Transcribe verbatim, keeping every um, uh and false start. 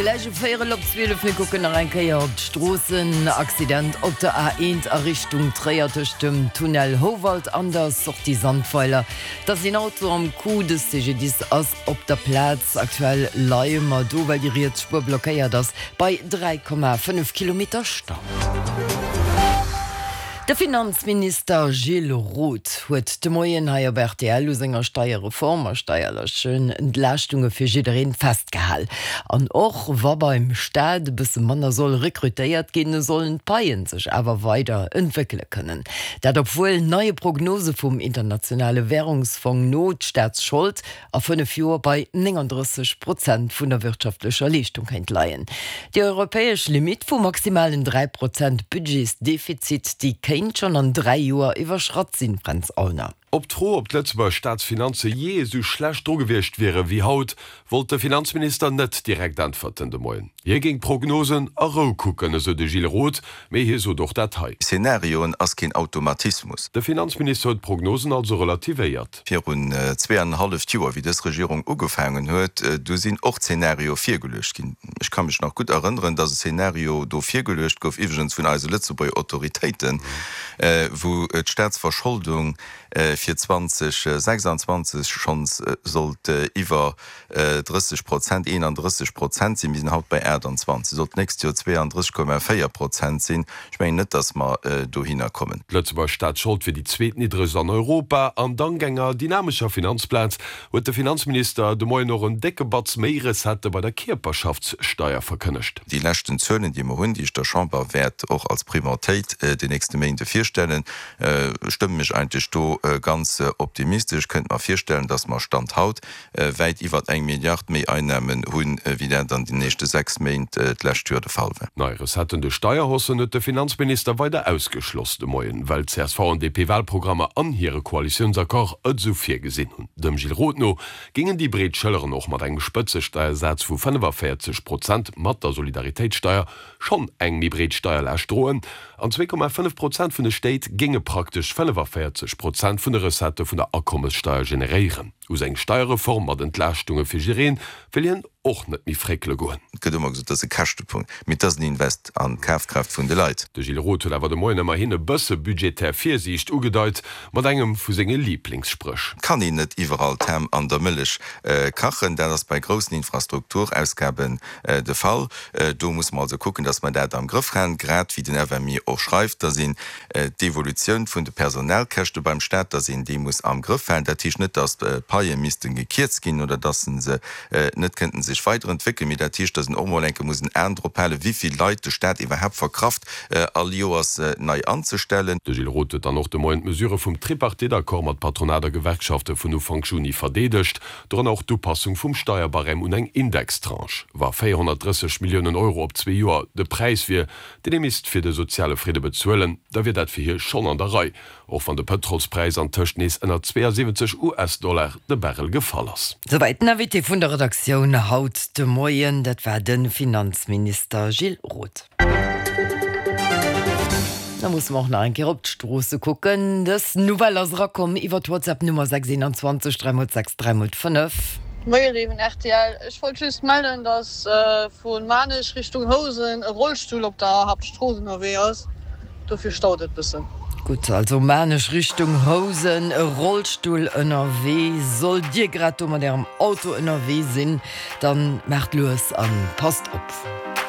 Gläich um véierel op zwielef. Mir kucken nach eng Kéier op d'Stroossen. Accident op der A eent a Richtung Tréier tëscht dem Tunnel Houwald an der Sortie Sandweiler. Da ass een Auto am Coup. De C G D I S ass op der Plaz. Aktuell leie mer do, well déi riets Spuer blockéiert ass, bei dräi Komma fënnef Kilometer Stau. De Finanzminister Gilles Roth huet de Moien hei op R T L u senger Steierreform a steierlechen Entlaaschtunge fir jiddereen festgehal. An och wa beim Staat e bësse manner soll rekrutéiert ginn, sollen d'Paien sech awer weider entwéckele kënnen. Dat obwuel neie Prognose vum internationale Wärungsfong no d'Staatsschold a fënnef Joer bei nénganddrësseg Prozent vun der wirtschaftlecher Leeschtung kéint leien. Déi europäesch Limitt vu maximalen dräi Prozent Budgetsdefizit, déi kéint schonn an dräi Joer iwwerschratt sinn, Fränz Aulner. Op d'Fro, ob d'Lëtzebuerger Staatsfinanze jee esou schlecht dru gewiescht wiere wéi haut, wollt de Finanzminister net direkt äntwerten de Moien. Hie géing d'Prognosen a Rou kucken, esou de Gilles Roth, mee hie sot och dat hei. Szenarioen ass keen Automatismus. De Finanzminister huet d'Prognosen also relativéiert. Virun zwee an en halleft Joer, wéi dës Regierung ugefaangen huet, du sinn och Szenarioe virgeluecht ginn. Ech ka mech nach gutt erënneren, datt e Szenario do virgeluecht gouf, iwwregens vun eise Lëtzebuerger Autoritéiten, wou d'Staatsverscholdung fir zweedausendsechsanzwanzeg schonns sollt iwwer drësseg Prozent, eenandrësseg Prozent sinn. Mir sinn haut bei aachtanzwanzeg, sollt d'nächst Joer zweeandrësseg Komma véier Prozent sinn. Ech mengen net, datt mer dohinner kommen. D'Lëtzebuerger Staatsschold wier déi zweetniddregst an Europa an dank enger dynamescher Finanzplaz huet de Finanzminister de Moien och en décke Batz méi Recettë bei der Kierperschaftssteier verkënnegt. Déi leschten Zuelen, déi mer hunn, déi ech der Chamber wäert och als Prioritéit den nächste Méinde virstellen, stëmmen mech eigentlech do ganz optimistesch. Ech kënnt mer virstellen, datt mer Stand haut wäit iwwer eng Milliard méi Einnamen hunn, wéi dat an den nächste sechs Méint d'lescht Joer de Fall war. Nei Recetten duerch Steierhaussen huet de Finanzminister weider ausgeschloss de Moien, well C S V an D P-Walprogrammer an hire Koalitiounsaccord et esou virgesinn hunn. Dem Gilles Roth no géingen déi breet Schëlleren och mat engem Spëtzesteiersaz vu fënnefavéierzeg Prozent mat der Solidaritéitssteier schonn eng méi breet Steierlaascht droen an zwee Komma fënnef Prozent vun de Stéit géinge praktesch fënnefavéierzeg Prozent vun de Recettë vun der Akommessteier generéieren. U seng Steierreform mat Entlaaschtunge fir jiddereen wëll hien och net méi fréckele goen. Et gëtt ëmmer gesot, dat ass e Käschtepunkt, mee et ass en Invest an d'Kafkraaft vun de Leit. De Gilles Roth huet awer de Moien ëmmerhin e bësse budgetär Virsiicht ugedeit mat engem vu senge Liiblingssprëch. Et kann een net iwwerall d'Ham an der Mëllech kachen. Dat ass bei groussen Infrastrukturausgaben de Fall. Do musse mer also kucken, datt mer dat am Grëff halen, grad wéi den F M I och schreift, datt een d'Evolutioun vun de Personalkäschte beim Staat, datt een déi muss am Grëff halen. Dat heescht net, datt d'Paie misste gekierzt ginn oder datt se net kënnten sech weiderentwéckelen, mee dat heescht, datt een och mol eng Kéier muss en Aen drop halen, wéi vill Leit de Staat iwwerhaapt verkraft, all Joers nei anzestellen. De Gilles Roth huet dann och de Moien d'Mesurë vum Tripartite-Accord mat Patronat a Gewerkschafte vun Ufank Juni verdeedegt, dorënner och d'Upassung vum Steierbarème un eng Indextranche. Wa véierhonnertdrësseg Milliounen Euro op zwee Joer de Präis wier, deen ee misst fir de soziale Fridde bezuelen, da wier dat fir hie schonn an der Rei, och wann de Pëtrolspräis antëscht nees ënner zweeasiwwenzeg U S-Dollar de Barrel gefall ass. Souwäit den Invité vun der Redaktioun haut de Moien, dat war de Finanzminister Gilles Roth. Da musse mer och nach eng Kéier op d'Stroosse kucken. Dës Nouvelle ass erakomm iwwer d'WhatsApp Nummer sechs einundzwanzeg dräi sechs dräi fënnef. Moie léiwen R T L, ech wollt just mellen, dass vu Maarnech Richtung Housen e Rollstull op der Haaptstrooss ënnerwee ass, dofir staut et bëssen. Gutt, also Maarnech Richtung Housen, e Rollstull ënnerwee. Sollt Dir grad do mat Ärem Auto ënnerwee sinn, dann maacht lues an passt op.